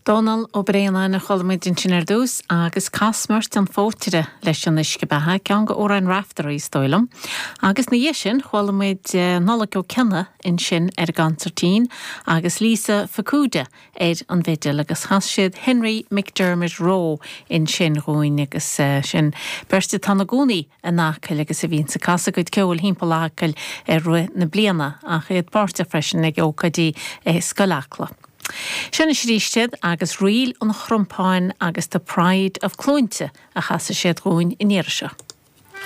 Dónal Ó Braonáin a chuala muid ansin ar dtús agus Cath Smert an Phótaire leis an Uisce Beatha, ceann de amhráin Raiftearaí is dóigh liom. Agus ina dhiaidh sin chuala muid Nollaig Ó Cionnaith ansin ar an gconsairtín agus Lisa Fukuda ar an bhfidil agus chas siad Henry McDermott Roe ansin dhúinn agus sin beirt atá ina gcónaí in Acaill agus a bhíonns ag casadh a gcuid ceoil thimpeall Acaill i rith na bliana ach iad páirteach freisin ag ócáidí i Scoil Acla. Seo anois arís iad agus Ríl an Chrompáin agus The Pride of Cluainte a chasfaidh siad dhúinn an iarraidh seo.